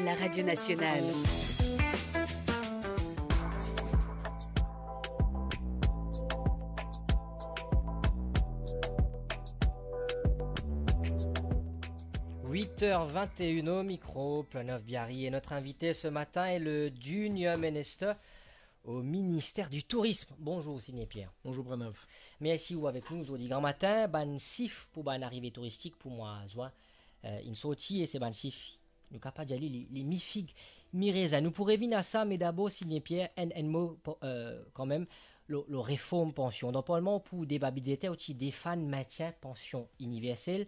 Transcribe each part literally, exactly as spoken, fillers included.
La Radio Nationale. Huit heures vingt et une au micro, Planoff Biary, et notre invité ce matin est le Junior Minister au ministère du Tourisme. Bonjour, Sidney Pierre. Bonjour, Pranav. Mersi ou avek nou zordi gramatin. Bann sif pou bann arive touristik pou mwa zin, eh, inn sorti, e se bann sif, nou kapav dir li, li, li mi fig, mi rezin. Nou pou revinn a sa, me dabor, Sidney Pierre, enn, enn mo, eh, kanmem, lor, lor reform pansion. Dan Parlman pou deba bidzeter, ou ti defann mintien pansion iniversel,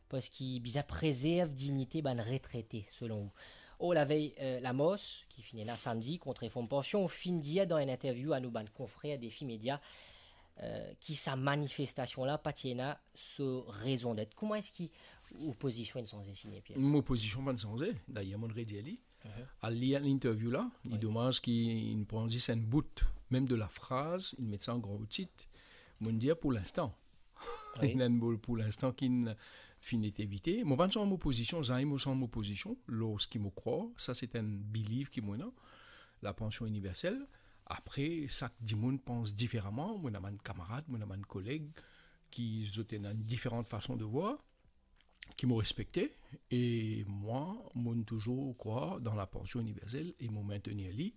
parski bizin prezerv dignite bann retrete, selon ou. Or, lavey, eh, lamars, ki finn ena samdi, kont reform pansion, ou finn dir dan enn interview a nou bann konfrer Defi Media, eh, ki sa manifestasion la pa ti ena so rezondet. Kouma eski ou pozision inn sanze, Sidney Pierre? Mo pozision pa'nn sanze. Dayer, mo'nn redir li. Mhm. Al lir interview la, li domaz ki inn pran zis enn bout, mem de lafraz, inn met sa an gran tit. Mo'nn dir pou linstan. Wi. Ena enn mo pou linstan ki'nn finn ete evite. Mo pa'nn sanz mo pozision, zame mo sanz mo pozision, lor seki mo krwar, sa se enn believe ki mo ena, lapansion iniversel. Apre, sak dimoun pans diferaman, mo ena bann kamarad, mo ena bann koleg ki zot ena enn diferan fason de vwar, ki mo respekte, e mwa, mo'nn touzour krwar dan lapansion iniversel e mo mintenir li.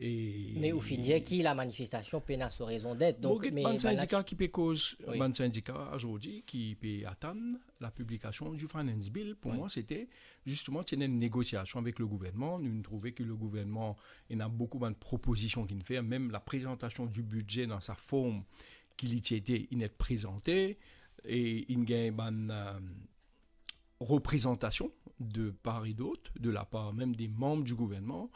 E me ou finn dir ki lamanifestasion pena so rezondet, donk, mo get bann sindika ki pe koz, wi, bann sindika zordi ki pe atann lapiblikasion di Finance Bill. Pou mwa, sete zisteman, ti ena enn negosiasion avek legouvernman. Nou'nn trouve ki legouvernman ena boukou bann propozision ki'nn fer, mem laprezantasion di bidze dan sa form ki li ti ete, inn et prezante, e inn gagn bann, eh, reprezantasion de par e dot, de lapar mem de manm di gouvernman,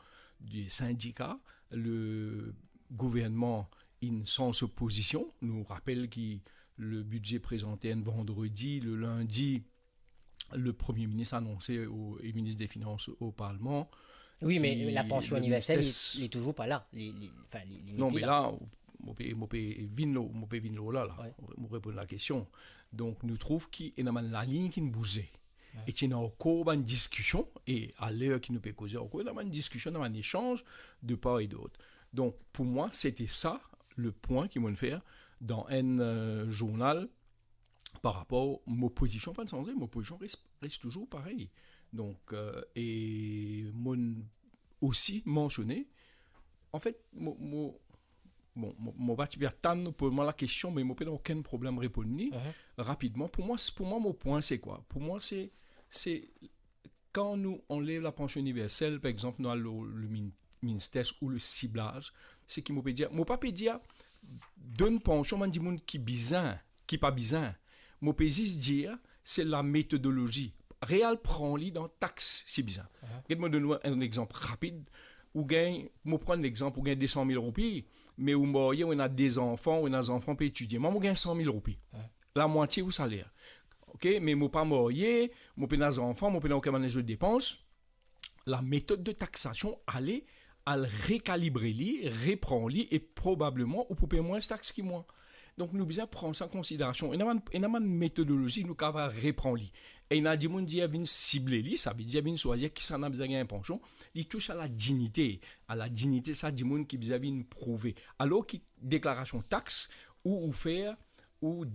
de sindika. Legouvernman inn sanz so pozision. Nou rapel ki le bidze prezante enn vandredi, le lindi, le Premie Minis anonse o, e Minis de Finans o Parlman, wi, me ki lapansion iniversel, li, li touzour pa la. Li, li, anfin, li, li... Non, me la, mo pe, mo pe vinn lor, mo pe vinn lor la, la. Wi. Mo reponn lakestion. Donk, nou trouv ki ena bann lalinn ki'nn bouze. Wi. E ti ena ankor bann diskision, e aler ki nou pe koze ankor, ena bann diskision, ena bann esanz de par e dot. Donk, pou mwa, sete sa lepwin ki mo'nn fer dan enn, eh, zournal, par rapor mo pozision pa'nn sanze, mo pozision res, res touzour parey. Donk, eh, e mo'nn osi mansione, anfet, mo, mo, bon, mo, mo pa ti pe atann ou poz mwa lakestion, me mo pena okenn problem reponn li rapidman. Pou mwa, pou mwa, mo pwin se kwa? Pou mwa, se, se kan nou anlev lapansion iniversel, par exanp, nou al lor le min, MINSTES ou le siblaz, seki mo pe dir, mo pa pe dir donn pansion bann dimoun ki bizin, ki pa bizin. Mo pe zis dir, se lametodolozi. Re al pran li dan tax, si bizin. Get mo donn ou enn lexanp rapid. Ou gagn, mo pran lexanp, ou gagn de san mil roupi, me ou marye, ou ena de zanfan, ou ena zanfan pe etidie. Mwa, mo gagn san mil roupi. Lamwatie ou saler. Ok, me mo pa marye, mo pena zanfan, mo pena okenn bann lezot depans. Lametod de taksasion, ale, al rekalibre li, repran li, e probableman ou pou pey mwins tax ki mwa. Donk, nou bizin pran sa an konsiderasion. Ena bann, ena bann metodolozi nou kapav repran li. E ena dimoun dir vinn sible li, savedir vinn swazir kisannla bizin gagn pansion, li tous a ladignite. A ladignite sa dimoun ki bizin vinn prouve. Alor ki deklarasion tax ou, ou fer, ou